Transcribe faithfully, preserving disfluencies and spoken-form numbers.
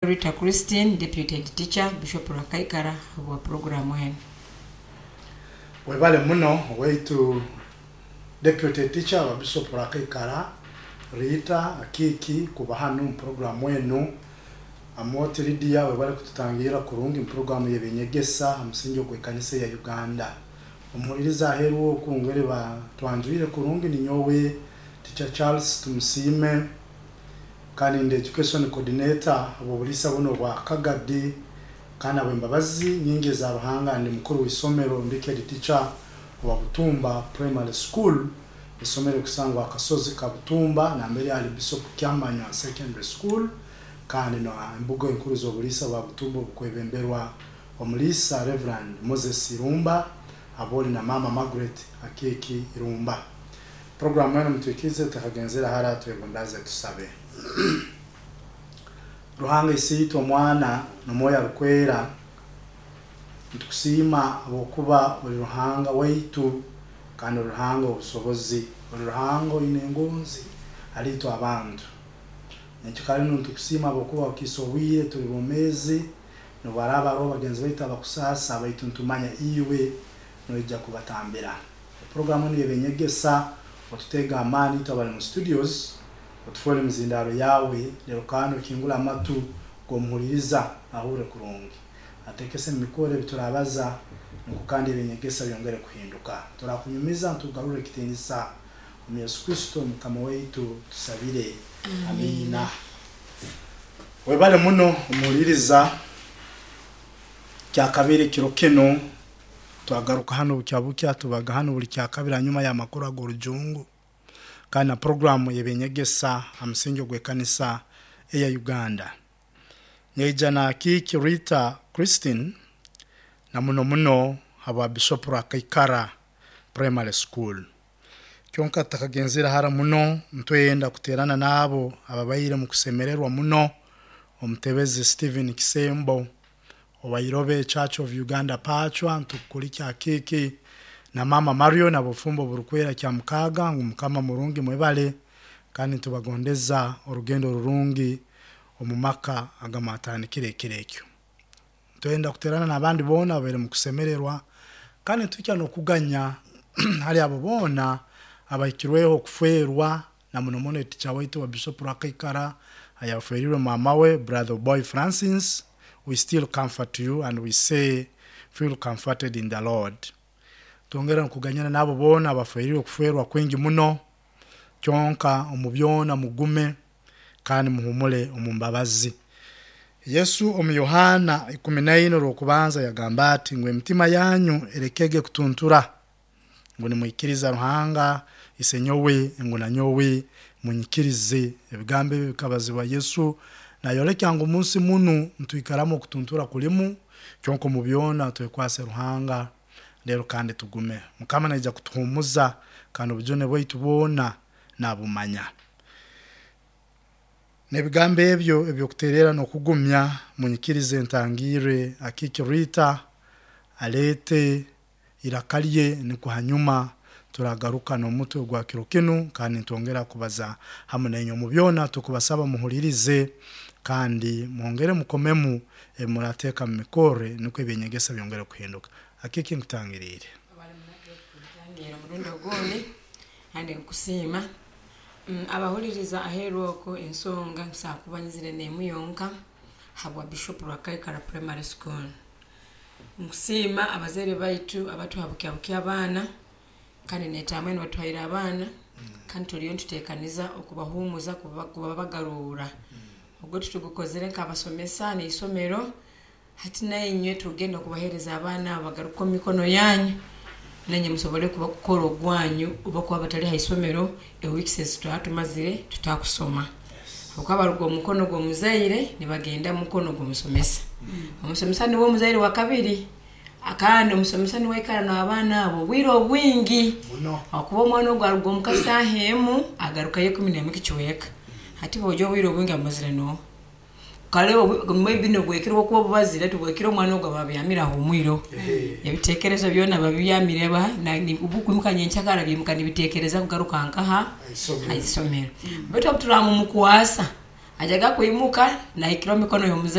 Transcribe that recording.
Rita Christine, Deputy Head Teacher, Bishop Rwakaikara habwa programu enu. Webale muno waitu deputy teacher wa Bishop Rwakaikara Rita Akiki kuba hano mu programu enu. Amoti Lydia, webale kututangira kurungi mu programu y'ebinyegesa ha musingi ogw'ekanisa ya Uganda. Omuhuliriza aheeru okungere batwanjwire kurungi, ninyowe Teacher Charles Tumusiime kandi ndi education coordinator obw'obuliisa buno bwa Kagadi, kandi ab'embabazi nyingi eza Ruhanga ndi mukuru w'isomero, ndi head teacher wa Butumba Primary School, isomero kusangwa akasozi ka Butumba nambere ali Bishop Kyamanywa Secondary School, kandi no embuga enkuru z'obuliisa bwa Butumba obukwebemberwa omuliisa Reverend Moses Irumba aboli na Mama Margaret Akeki Irumba. Programu eno mutwikize tukagenzera hara twebundaze tusabe. Ruhanga Isiitwe, Omwana n'Omwoyo Arukwera, nitukusiima habwokuba oli Ruhanga waitu kandi oli Ruhanga obusobozi, oli Ruhanga oine engonzi haliitwe abantu. Nekyo kale nu nitukusiima habwokuba okiisa obwire tuli bomeezi. Nobwaraaba haroho bagenzi baitu abakusaasa, baitu nitumanya iwe noija kubatambira. Programu enu y'eby'enyegesa, otutega amaani itwe abali mu studios, otufoole emizindaaro yawe, lero kandi okingule amatu g'omuhuliriza ahure kurungi, atekese mu mikoro ebi turabaza, nukwo kandi eby'enyegesa byongere kuhinduka. Turakunyumiza, ntugarure ekitiinisa omu Yesu Kristo Mukama waitu tusabire, amiina. Webale muno omuhuliriza. Kyakabiri kiro kinu twagaruka hano bukya bukya, tubaga hano buli kyakabiri hanyuma y'amakuru ag'orujungu kandi na programu y'ebyenyegesa ha musingi ogw'ekanisa eya Uganda. Nyeija na Kiki Rita Christine na muno muno habwa Bishop Rwakaikara Primary School. Kyonka tutakagenzere hara muno, ntwenda kuterana n'abo ababaire mu kusemererwa muno, omutebezi Stephen Kisembo owa Irobe Church of Uganda Pachwa. Ntukulikya Kiki na Mama Mario na bufumbo burukwera kya mukaaga ngu Mukama murungi. Mwebale kandi ntubagondeza orugendo rurungi omu maka agamwatandikire ekiro ekyo. Twenda kuterana n'abandi boona ababaire mu kusemererwa, kandi nituhikya n'okuganya hali abo boona abahikirweho okufwerwa, na muno muno teacher waitu wa Bishop Rwakaikara ayaferirwe mama we, Brother Boy Francis. We still comfort you and we say feel comforted in the Lord. Twongera nkuganyana n'abo boona abaferirwe okufwerwa kwingi muno. Kyonka omu byona mugume kandi muhumule omu mbabazi. Yesu omu Yohana ikumi naine orwokubanza yagamba ati ngu emitima yanyu erekege kutuntura, ngu nimwikiriza Ruhanga Isenyowe, ngu nanyowe munyikirize. Ebigambo ebi bikabazibwa Yesu nayolekya ngu munsi munu ntwikaramu okutuntura kulimu, kyonka omu byona twekwase Ruhanga rero kandi tugume. Mukama naija kutuhumuza kandi obujune bwaitu bwona nabumanya. N'ebigambo ebyo ebyokuterera n'okugumya, munyikirize ntangirre Akiki Rita aleete iraka lye, nikwo hanyuma turagaruka n'omutwe gwa kiro kinu kandi nitwongera kubaza hamu nainywe. Omu byona tukubasaba muhulirize kandi mwongere mukomemu ebi murateeka mu mikorre, nukwo ebyenyegesa byongere kuhinduka. Akiki, nkutangiriire. Ngira omurundi ogundi kandi nkusiima. Mm, abahuliriza aheeru okwo, ensonga nsobola kuba nyizire n'emu yonka habwa Bishop Rwakaikara Primary School. Nkusiima abazaire baitu abatuha bukya bukya abaana, kandi netaamwe nibatuhaire abaana, kandi turiyo nituteekaniza okubahuumuza kuba- kubabagarura. Ogwo tutugukozere nk'abasomesa n'isomero. Hati nainywe tugenda kubaheereza abaana abo bagaruke omu mikono yanyu, nanye musobole kuba kukora ogwanyu oba kuba batali ha isomero eweeks ezi twaba tumazire tutakusoma, habwokuba baruga omu mukono gw'omuzaire nibagenda mu mukono gw'omusomesa. Omusomesa niwe omuzaire wa kabiri, kandi omusomesa niwe aikara n'abaana abo obwire obwingi muno, akuba omwana ogwo aruga omuka saaha emu, agarukayo ikumi n'emu kicweka. Hati bwojja obwire obwingi amazire nooha kale obu- maybe nobwekiro bwokuba obubazire tubwekire, omwana ogwo aba abyamire ahumwireho, ebitekerezo byona babyamire ba obukwimuka nyenkyakara byimuka nibitekereza kugaruka nkaha Haisomero. Haisomero. Baitu obu turamumukwasa ajaga kwimuka nahikira omu mikono y'omuzaire.